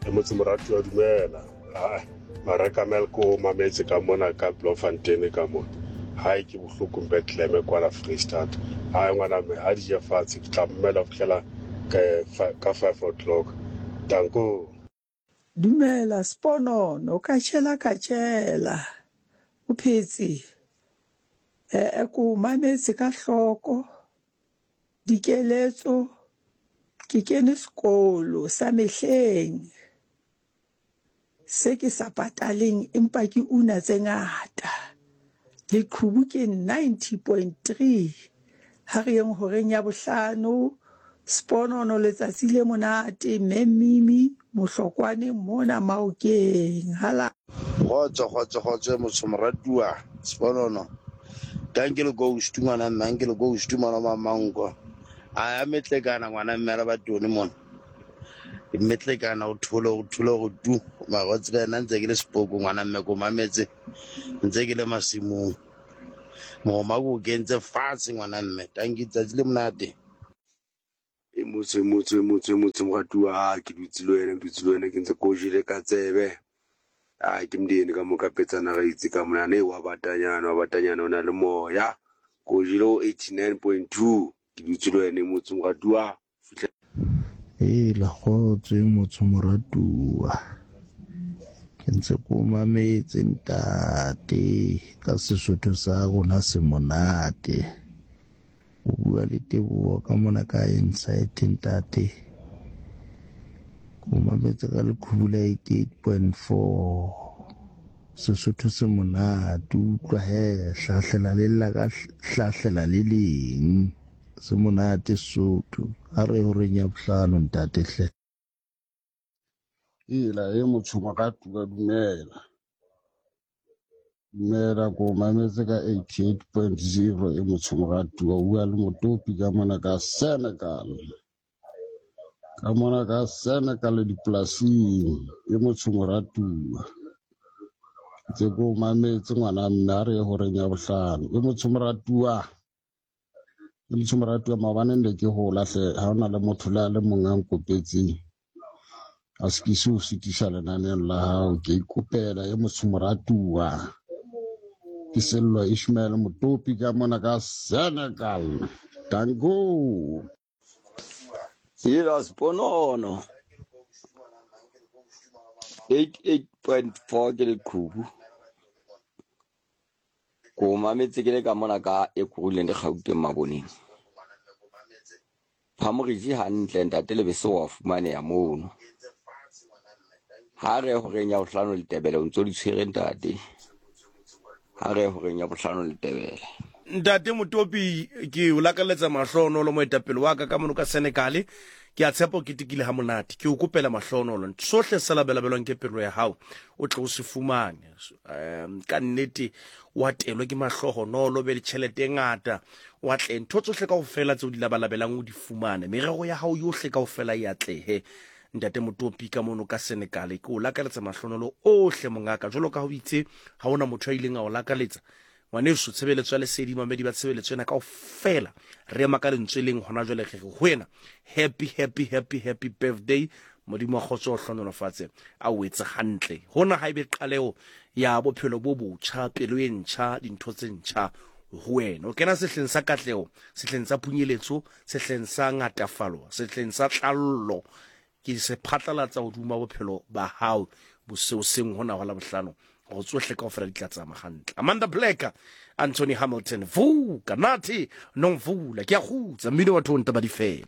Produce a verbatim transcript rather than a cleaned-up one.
E motse moratuwa dumela. Ai Mareka Melko o mametse ka mona ka Bloemfontein ka mona. Hae ke bohloko Bethlehem kwana Freestata. Hae ngwana mme ha di je fatshe ke tla mmela ho fihlela ka ka five o'clock. Danko. Dumela Sponono, ka tšhela ka tšhela. O phetse? Eh, ko mametse ka hloko. Dikeletso ke kene sekolo sa mehleng se ke sa pataleng empa ke una tse ngata. Leqhubu ke ninety point three. Ha re yeng horeng ya bohlano. Sponono letsatsi le monate Mme Mimi Mohlokwane mona Maokeng. Hala. Kgotso kgotso kgotso motho moratuwa Sponono. Thank you ghost ngwana mme anke le ghost mona mamanko. A ya metlekana ngwana mme re ba tone mona. Metlekana o thole o thole go tu. Mara tsebe nna ntse ke le sepoko ngwana mme ko mametse. Ntse ke le masimong. Mogoma ko kentse fatshe ngwana mme. Thank you tsatsi le monate. E motse motse motse motse moratuwa ke dutse le wena ke dutse le wena ke ntse ko jele ka tsebe. A ke mdeni ka moka petsana ga itse ka mona ne wa batanyana wa batanyana o na le moya. Ko jele o eighty-nine point two ke dutse le wena motse moratuwa. Ela kgotso motse moratuwa. Ke ntse ko mametse ntate ka Sesotho sa rona se monate. O bua le Teboho ka mona ka Insight ntate. Ko mametse ka leqhubu la eighty-eight point four. Sesotho se monate, utlwa he hlahlela le lla ka hlahlela le leng. Se monate Sesotho. A re horeng ya bohlano ntate hle. Ela e motho moratuwa dumela. Dumela ko mametse ka eighty-eight point zero e motho moratuwa o bua le Motopi ka mona ka Senegal. Ka mona ka Senegal dipolasing e motho moratuwa. Ntse ko mametse ngwana mme a re horeng ya bohlano e motho moratuwa. E motho moratuwa maobane ne ke hola hle ha hona le motho le a le mong a nkopetseng. A se ke se o sitisa lenaneng la hao ke ikopela e motho moratuwa. Ke Sello Ishmael Motopi ka mona ka Senegal. Danko. Ela Sponono. eighty-eight point four ke leqhubu. Ko mametse ke le ka mona ka Ekurhuleni le Gauteng maboneng. Phamoriji hantle ntate Lebese wa fumaneha mono. Ha re horeng ya bohlano letebele o ntso di tshwere ntate. Ha re horeng ya bohlano letebele. Ntate Motopi ke o lakaletsa mahlonolo moetapele wa ka ka mono ka Senegal. Ke a tshepa o ketekile ha monate. Ke o kopela mahlonolo. Sohle se labelabelwang ke pelo ya hao o tle o se fumane. Um ka nnete wa telwe ke mahlohonolo be le tjhelete e ngata. Wa tle ntho tsohle kaofela tseo di labalabelang o di fumane. Merero ya hao yohle kaofela e atlehe. Ntate Motopi ka mono ka Senegal ke o lakaletsa mahlonolo ohle mongaka. Jwalo ka ha o itse ha hona motho a ileng a o lakaletsa. Ngwaneso tshebeletso ya lesedi mamedi ba tshebeletso ena kaofela re ema ka lentswe leng hona jwale re re ho wena happy happy happy happy birthday. Modimo wa kgotso o hlohonolofatse a o etse hantle. Hona ha ebe qaleho ya bophelo bo botjha, pelo e ntjha, dintho tse ntjha ho wena. O kena sehleng sa katleho, sehleng sa phunyeletso, sehleng sa ngatafalo, sehleng sa tlallo. Ke se phatlalatsa hodima bophelo ba hao boseo seng hona ho la bohlano. Go tsohle kaofela di tla tsamaya hantle. Amanda Black, Anthony Hamilton, Vuka Nathi Nomvula, ke a kgutsa mmino wa thonta ba di fele.